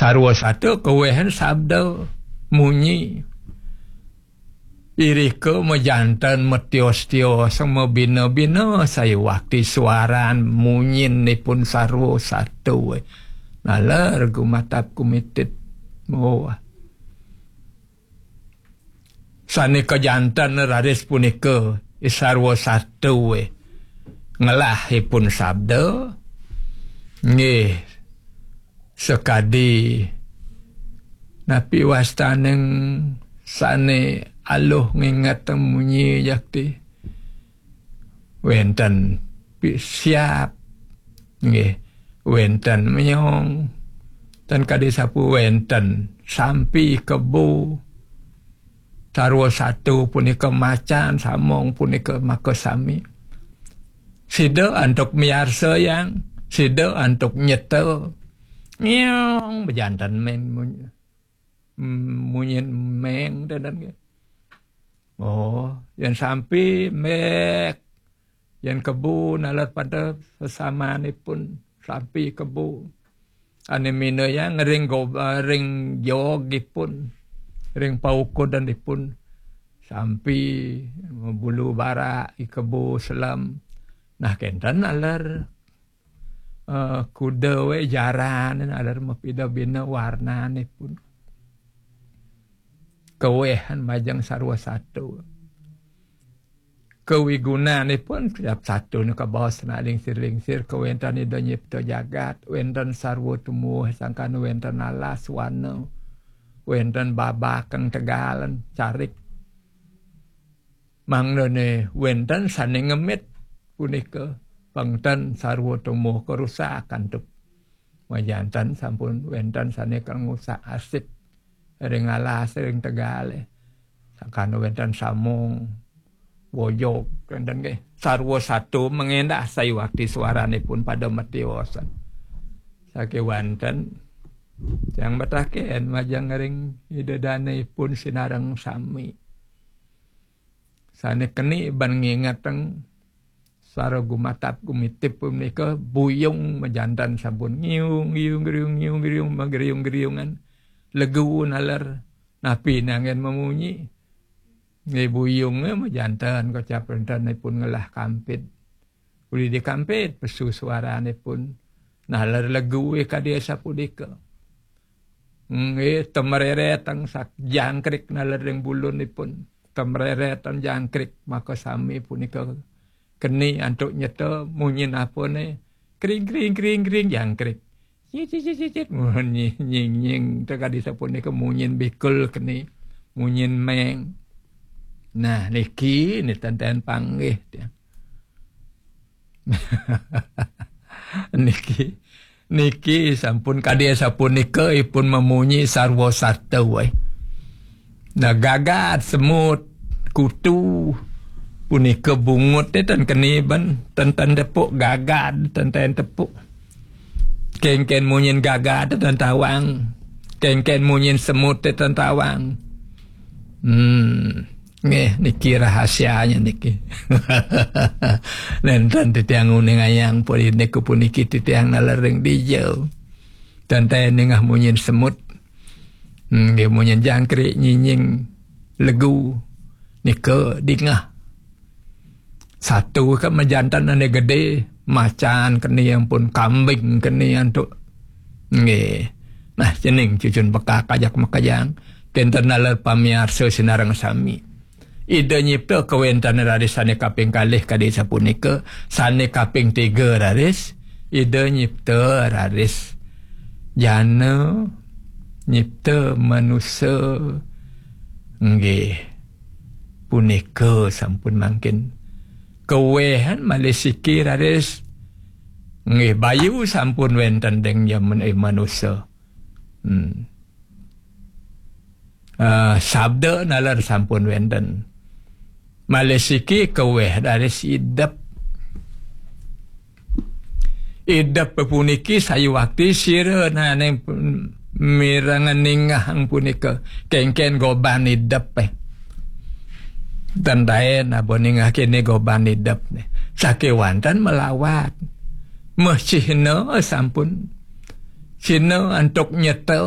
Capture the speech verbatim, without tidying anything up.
Sarwa sato kawéhan sabda munyi. Irika majanten matios-tios mabina-bina sayuwakti suaran munyin ipun sarwa sato. Naler gumatap gumitit. Oh. Sane kajanten raris punika i sarwa sato ngelah ipun sabda. Nggih, sakadi napi wastaning sane aluh nginget munyi jakti. Wenten pi-, siap. Nggih, wenten menyong. Ten kadi sapu wenten sampi kebo. Sarwa sato punika macan, samong punika makasami. Sida antuk miarsa yang, sida antuk nyeta. Ngiong bejanten meng munyi. Mm, munyin meng tenden nggih. Oh, yen sampi mek. Yen kebo naler pada sesamanipun sampi kebo. Ane minayang ring go-, ring jogipun, ring paukudanipun sampi bulu barak, i kebo selem. Nah, kenten naler, eh, kuda we jaran, naler mapida bina warnanipun. Kawehan majeng sarwa sato. Kawigunanipun tiap sato nika baos na lingsir-lingsir, kawenten Ida nyipta jagat, wenten sarwa tumuh sangkan wenten alas wana, wenten babakeng tegalan carik. Mangdane wenten sane ngemit punika pengten sarwa tumuh karusak antuk. Majanten sampun wenten sane kang ngusak arsip ring alas ring tegale. Sangkan wenten samong, wojog, wenten nggih. Sarwa sato mengendah sayuwakti suaranipun pada matiosan. Sakewanten tiang mataken majeng ring Ida danepun sinareng sami. Sane keni ban ngingeteng sara gumatap gumitip punika buyung majanten sampun ngiung, ngiung, ngiung, ngiung, ngiung, magriung-griungan. Legu naler napi nanggen mamunyi. Nggih buyunge majanten kocap rentenipun ngelah kampit. Uli dikampit pesu suaranipun. Naler legu kadi sapunika. Nggih, temreretang sak jangkrik naler ring bulunipun. Temreretang jangkrik, maka sami punika keni antuk nyeta munyin apane. Kring, kring, kring, kring, jangkrik. Cicit, cicit, cicit. Munyi, nying, nying. Tekadi sapunika munyin bikul keni. Munyin meng. Nah, niki, ni tenten panggih. Niki, niki sampun kadi sapunika ipun mamunyi sarwa sato, eh. Nah, gagad, semut, kutu, punika bungut, eh, ten keni ben, ten, ten tepuk, gagad, ten, ten tepuk. Kengken munyin gagad, ten tawang. Kengken munyin semut, ten tawang. Hmm. Nggih, niki rahasianya niki. Nenten titiang uningayang puri niku puniki titiang naler ring dija. Tenten ningeh munyin semut. Hmm, nggih, munyin jangkrik, nyinying, legu. Nika dingeh. Sato ka majanten ane gede, macan keni ampun, kambing keni antuk. Nggih. Nah, cening cucun bekak ajak makejang. Kenten naler pamiarsa sinareng sami. Ida nyipta kawenten raris sane kaping kalih kadi sapunika, sane kaping tiga raris, Ida nyipta raris jana, nyipta manusa. Nggih. Punika sampun mangkin. Kawehan malih siki raris. Nggih, bayu sampun wenten deng jaman, eh, manusa. Hmm. Ah, sabda naler sampun wenten. Malih siki kaweh raris idep. Idep puniki sayuwakti sira nane mirenga ningehang punika kengken goban idep, eh. Ten taen apa ningeh kene goban idep, eh. Sakewanten melawat. Meh cihna sampun. Cihna antuk nyeta